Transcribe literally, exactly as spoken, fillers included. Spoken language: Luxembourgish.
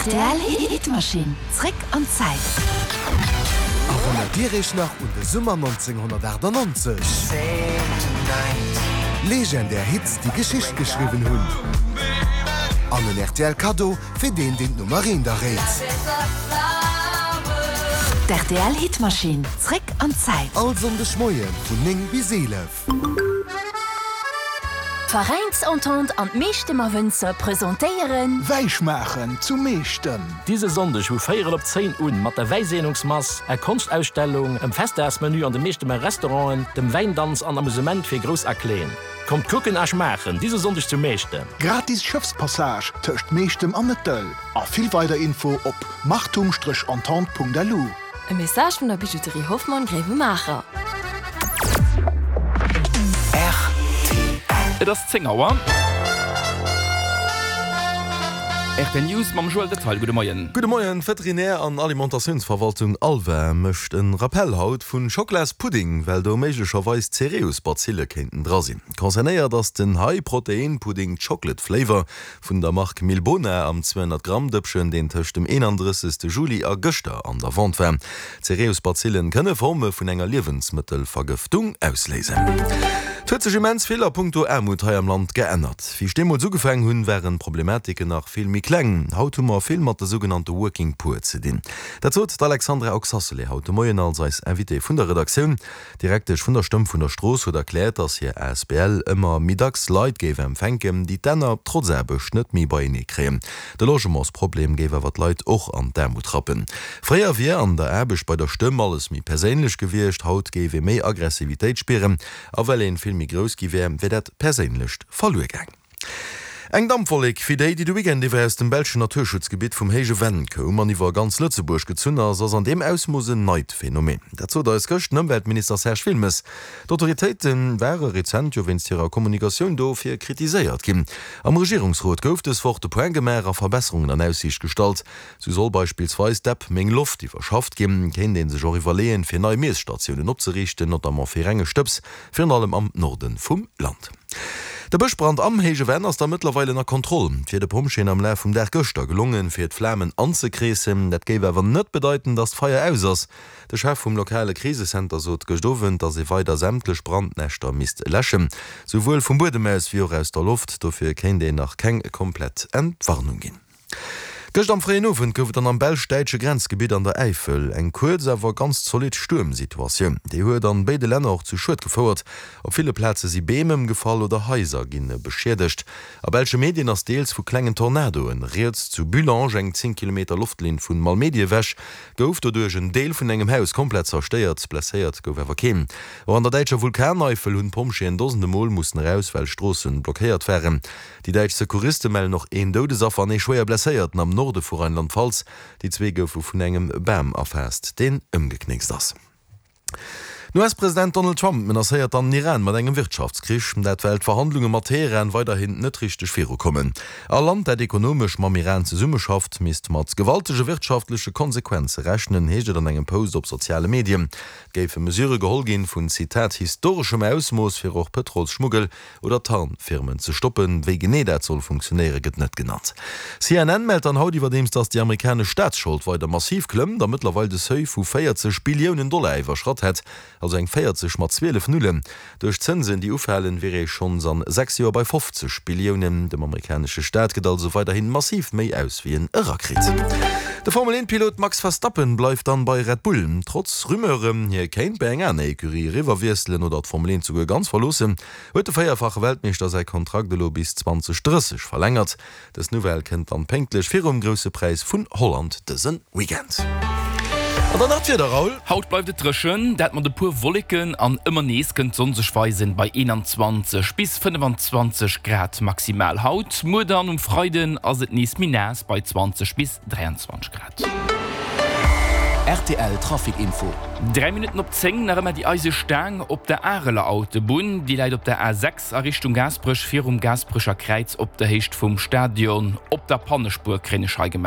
Rtl Hitmaschinn, zréck an d'Zäit. Erënnert Dir Iech nach un de Summer nonzénghonnertaachtannonzeg? Legendär Hits, déi Geschicht geschriwwen hunn. An en rtl Kaddo fir deen, deen d'Nummer eent erréit. D'RTL Hitmaschinn, zréck an d'Zäit. All Sonndeg Moie vun néng bis eelef. D'Veräinsentente an d'Meechtemer Wënzer presentéieren. Wäischmaachen zu Meechtem. Dise Sonndeg vu véierel op zéin un mat der Wäiseenungsmass, er Konschtausstellung, em Festdagsmenü an de Meechtemer Restauranten, dem Wäindanz an Amusement fir Grouss a Kleen. Kommt kucken a schmaachen dise Sonndeg zu Meechtem. Gratis Schëffspassage tëscht Meechtem an Nëttel a vill weider Info op machtum-entente.lu. E Message vun der Bijouterie Hoffmann Gréiwemaacher. Et ass zéng Auer. Rtl News mam Joël Detaille. Gudde Moien. Gudde Moien. D'Veterinär an Alimentatiounsverwaltung ALVA mécht e Rappell haut vun Schockelaspudding, well do méiglecherweis Cereus-Bazille kéinten dra sinn. Concernéiert ass den High-Protein-Pudding Chocolate Flavor vun der Mark Milbona am zweihonnert Gramm Dëppchen, deen tëscht dem eenandrëssegste Juli a gëschter an der Vente war. Cereus-Bazillen kënne Forme vun enger Liewensmëttelvergëftung ausléisen. Et huet sech immens vill a punkto Aarmut hei am Land geännert. Wéi ech deemools ugefaangen hunn, waren d'Problematiken nach vill méi kleng. Haut hu mer vill mat de sougenannte Working Poor ze dinn. Dat sot d'Alexandra Oxacelay haut de Moien als eis Invitée vun der Redaktioun. D'Direktesch vun der Stëmm vun der Strooss huet erkläert, datt hir asbl ëmmer méi dacks Leit géif empfänken, déi d'Enner trotz Aarbecht net méi beienee kréien. De Logementsproblem géif awer d'Leit och an d'Aarmut rappen. Fréier wier an der Aarbecht bei der Stëmm alles méi perséinlech gewiescht, haut géif ee méi Aggressivitéit spieren a well ee vill méi grouss gi wär, wär dat Perséinlecht verluer gaang. Eng Dampwollek wéi déi, déi de Weekend iwwer aus dem belschen Naturschutzgebitt vum Héije Venn koum an iwwer ganz Lëtzebuerg gezunn ass, ass an deem Ausmooss en neit Phänomen. Dat sot eis gëscht den Ëmweltminister Serge Wilmes. D'Autoritéite ware rezent jo wéinst hirer Kommunikatioun dofir kritiséiert ginn. Am Regierungsrot gouf dës Woch de Point gemaach a Verbesserungen an Aussiicht gestallt. Sou soll beispillsweis d'App Meng Loft iwwerschafft ginn. Kéint ee sech och iwwerleeën, fir nei Miesstatiounen opzeriichten, notamment fir renge Stëbs, virun allem am Norde vum Land. De Bëschbrand am Héije Venn ass da mëttlerweil ënner Kontroll. Et wier de Pompjeeën am Laf vum Dag gëschter gelongen, fir d'Flamen anzekreessen. Dat géif awer net bedeiten, datt d'Feier aus ass. De Chef vum lokale Krisecenter sot gëscht Owend, datt ee weider sämtlech Brandnäschter misst läschen, souwuel vum Buedem aus wéi och aus der Loft. Dofir kéint een nach keng komplett Entwarnung ginn. Gëscht am fréien Owend gouf et dann am belsch-däitsche Grenzgebitt an der Äifel eng kuerz, awer ganz zolidd Stuermsituatioun. Déi huet an béide Länner och zu Schued gefouert. Op ville Plaze si Beem ëmgefall oder Haiser gi beschiedegt. A belsche Medien ass deels vu klengen Tornadoen rieds. Zu Bullange, eng zéng Kilometer Loftlinn vu Malmedy ewech, gouf doduerch en Deel vun engem Haus komplett zerstéiert. Blesséiert gouf awer keen. Och an der däitscher Vulkaneifel hunn d'Pompjeeën dosende Mol mussen eraus, well Stroosse blockéiert waren. Déi däitsch Secouriste mellen och een Doudesaffer an ee schwéier Blesséierten am Norde vu Rheinland-Pfalz. Déi zwee goufe vun engem Bam erfaasst, deen ëmgeknéckst ass. Den U S-President Donald Trump menacéiert dann den Iran mat engem Wirtschaftskrich, dat well d'Verhandlunge mat Teheran weiderhin net richteg virukommen. All Land, dat ekonomesch mam Iran zesummeschafft, misst mat gewaltege wirtschaftleche Konsequenze rechnen, heescht et an engem Post op soziale Medien. Et géife Mesure geholl ginn vun, Zitat, historeschem Ausmooss, fir och Pëtrolsschmuggel oder Tarnfirmen ze stoppen. Wéi genee dat soll funktionéieren, gëtt net genannt. C N N mellt dann haut iwwerdeems, datt déi amerikanesch Staatsschold weider massiv klëmmt a mëttlerweil de Seuil vu véierzeg Billiounen Dollar iwwerschratt hätt, also eng véierzeg mat zwielef Nullen. Duerch d'Zënsen, déi ufalen, wier ee schonns an sechs Joer bei fofzeg Billiounen. Dem amerikanesche Staat gëtt also weiderhin massiv méi aus, wéi en erakritt. De Formel eent Pilot Max Verstappen bleift dann bei Red Bull. Trotz Rumeuren, hie kéint bei eng aner Ecurie eriwwerwiesselen oder d'Formel eent souguer ganz verloossen, huet de véierfache Weltmeeschter säi Kontrakt elo bis zweedausendrësseg verlängert. Dës Nouvelle kënnt dann pénktlech virum Grousse Präis vun Holland dëse Weekend. An dann nach d'Wieder, Raoul. Haut bleift et dréchen, dat mat e puer Wolleken an ëmmer nees kënnt d'Sonn sech weisen, bei eenanzwanzeg bis fënnefenzwanzeg Grad maximal haut. Muer dann um Freiden ass et nees méi naass bei zwanzeg bis dräianzwanzeg Grad. Rtl Trafic Info. Dräi Minutten op zéng, nach ëmmer déi eise Staang op der Areler Autobunn. Déi läit op der A sechs a Richtung Gaasperech virum Gaasperecher Kräiz op der Héicht vum Stadion. Op der Pannespuer kréien ech hei gemellt.